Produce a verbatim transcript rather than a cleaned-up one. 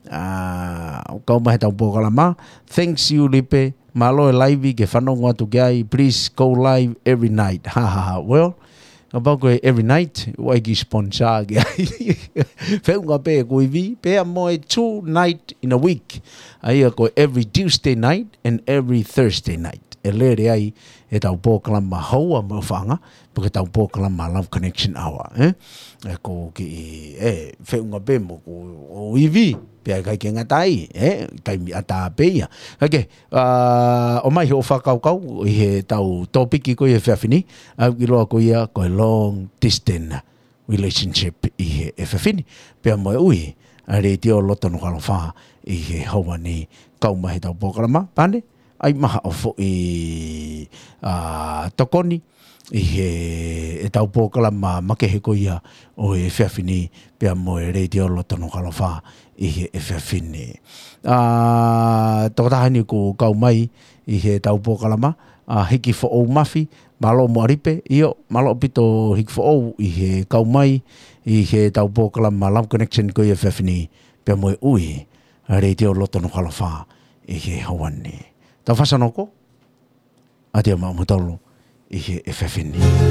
ʻa, kau mai he tau polokalama. Thanks you, Lipe. Mālō e live ke fanongo atu ki ai. Please go live every night. Ha, ha, ha. Well, kapau ko e every night, ʻoku ʻikai ke sponsor ki ai. Feʻunga pē ʻeku ivi, pea mo e two night in a week. ʻA ia ko e every Tuesday night and every Thursday night. ʻE lele ai e tau polokalama Houa mo e ʻOfaʻanga, pe ko e tau polokalama Love Connection Hour, ē? ʻE ko ki, ʻe, feʻunga pē mo ʻeku ivi, pea ʻikai ke ngata ai, ē? Taimi ʻatā pē ia. Kae kehe, ʻa, ʻomai hoʻo fakakaukau ʻi he tau tōpiki ko ia he efiafi ni, ʻa, ʻiloa ko ia ko e long distance relationship ʻi he efiafi ni. Pea mo e ui ʻa e Letiō Loto Nukuʻalofa ʻi he houa ni, kau mai he tau polokalama, pane, ʻai maha ʻo foʻi, ʻa, tokoni ʻi he, e tau polokalama makehe ko ia ʻo e efiafi ni, pea mo e Letiō Loto Nukuʻalofa ʻi he efiafi ni. ʻA, tokotaha ni ʻoku kau mai ʻi he tau polokalama, ʻa, Hiki Foʻou Mafi, mālō mo Lipe, ʻio, mālō ʻaupito Hiki Foʻou ʻi he kau mai ʻi he tau polokalama Love Connection ko ia he efiafi ni, pea mo e ui ʻa e Letiō Loto Nukuʻalofa ʻi he houa ni. Tau fasanoko, ʻa te mau matalo ʻi he efiafi ni.